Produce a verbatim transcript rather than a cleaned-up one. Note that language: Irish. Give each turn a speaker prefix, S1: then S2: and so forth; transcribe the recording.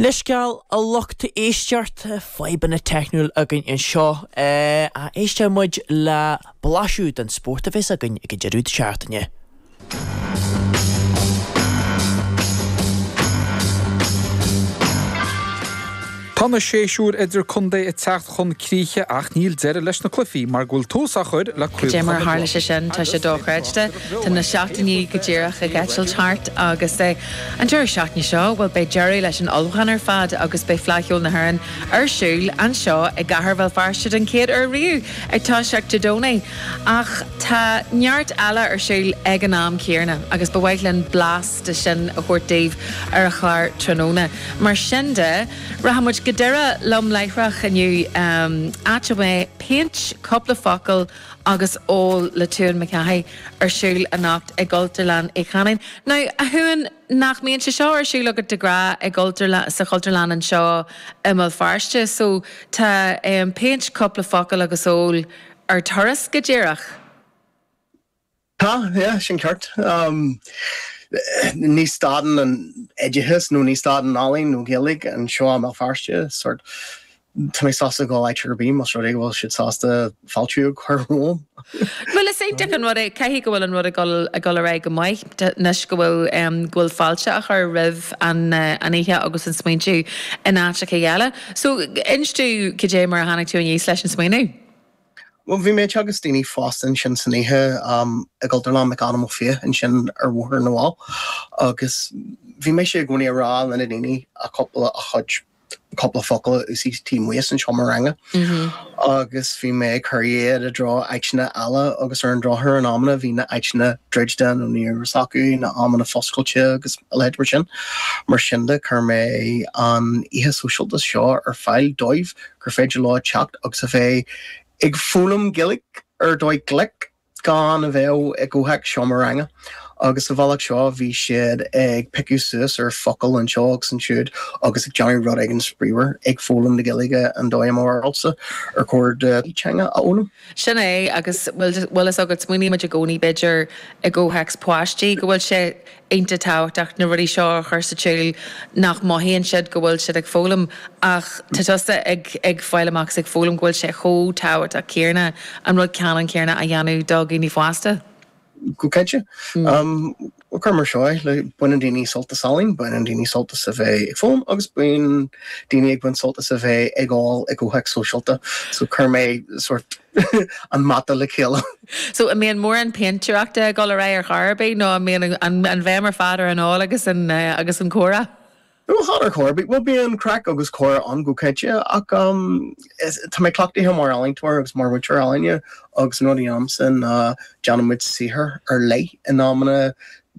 S1: Leithscéal a lucht éisteachta fadhbanna teicniúil againn anseo a éisteoidh muid le blaiseadh den spórt a bheas againn ag an deireadh seachtaine.
S2: Tá na séasúir idirchontae ag teacht chun críche ach níl deireadh leis na cluichí mar go bhfuil tús á chur le
S3: Cé mar tharla sé sin tá sé dochreidte Tá na seachtainí go díreach ag eitilt thart agus é an deireadh seachtaine seo bhuel beidh deireadh leis an ullmhúchán ar fad agus beidh Fleadh Cheoil na hÉireann ar siúl anseo i gcathair Bhéal Feirste den chéad uair riamh ag toiseacht Dé Domhnaigh. Ach tá neart eile ar siúl ag an am céanna agus ba mhaith linn blas de sin a thabhairt daoibh ar an chlár tráthnóna. Mar sin de rachaidh muid go Doire liom láithreach inniu áit a mbeidh péint, cúpla focal agus ól le Tuan Mac Cárthaigh ar siúl anocht i gCultúrlann Uí Chanáin. Now, a Thuan, nach mbíonn sé seo ar siúl agat de ghnáth i gCultúrlann, sa Chultúrlann anseo i mBéal Feirste, so tá péint, cúpla focal agus ól ar turas go díreach.
S4: Tá, yeah, sin ceart. Ní stadann an oideachas nó ní stadann ealaín nó Gaeilge anseo i mBéal Feirste, sort tá mé sásta dul áit ar bith más rud é go bhfuil siad sásta fáiltiú a chur romham.
S3: Bhuel is iontach an rud é, caithfidh go bhfuil an rud ag dul ag dul ar aghaidh go maith anois go bhfuil go bhfuil fáilte á chur roimh an an oíche agus an smaointiú in áiteacha eile. So inis domh cad é mar a tháinig tú aníos leis an smaoineamh?
S4: Bhuel, bhí mé ag teagasc daoine fásta ansin san oíche i gCultúrlann McAdam Ó Fiaich ansin ar Bhóthar na bhFál agus bhí mise i gcónaí ag rá le na daoine a cúpla a chuid cúpla focal a úsáid taobh amuigh as an seomra ranga agus bhí mé ag cur iad i dtreo áiteanna eile agus ar an drochuair in amanna bhí na áiteanna druidte nó ní raibh acu na amanna foscailte agus a leithéid mar sin. Mar sin de chuir mé an oíche sóisialta seo ar fáil dóibh gur féidir leo teacht agus a bheith ag foghlaim Gaeilge ar dóigh glic gan a bheith i gcomhthéacs seomra ranga agus sa bhealach seo bhí siad ag piocadh suas ar focail anseo agus ansiúd agus ag déanamh rud éigin spraíúil ag foghlaim na Gaeilge an dóigh i mo bharúilsa ar chóir do teanga a fhoghlaim.
S3: Sin é agus bhfuil fhios agat smaoinímid i gcónaí b'fhéidir i gcomhthéacs páistí go bhfuil sé iontach tábhachtach na rudaí seo a chur sa tsiúl nach mothaíonn siad go bhfuil siad ag foghlaim ach tá tusa ag ag fáil amach is ag foghlaim go bhfuil sé chomh tábhachtach céanna an rud ceannann céanna a dhéanamh do dhaoine fásta.
S4: Go cinnte. Cuir mar seo é, baineann daoine sult as ealaín, baineann daoine sult as a bheith ag foghlaim agus bíonn daoine ag baint sult as a bheith ag ól i gcomhthéacs sóisialta. So chuir mé sort an mata le chéile.
S3: So an mbíonn mórán péintéireachta ag dul ar aghaidh ar chor ar bith nó an mbíonn an bhéim ar fad ar an ól agus an agus an comhrá?
S4: No, chan ar chor ar bith. Bhuel bíonn craic agus comhrá ann go cinnte ach tá mé cleachtaithe mar ealaíontóir agus mar mhúinteoir ealaíne agus an rud a dhéanaimse ná déanaimid saothar ar leith in amanna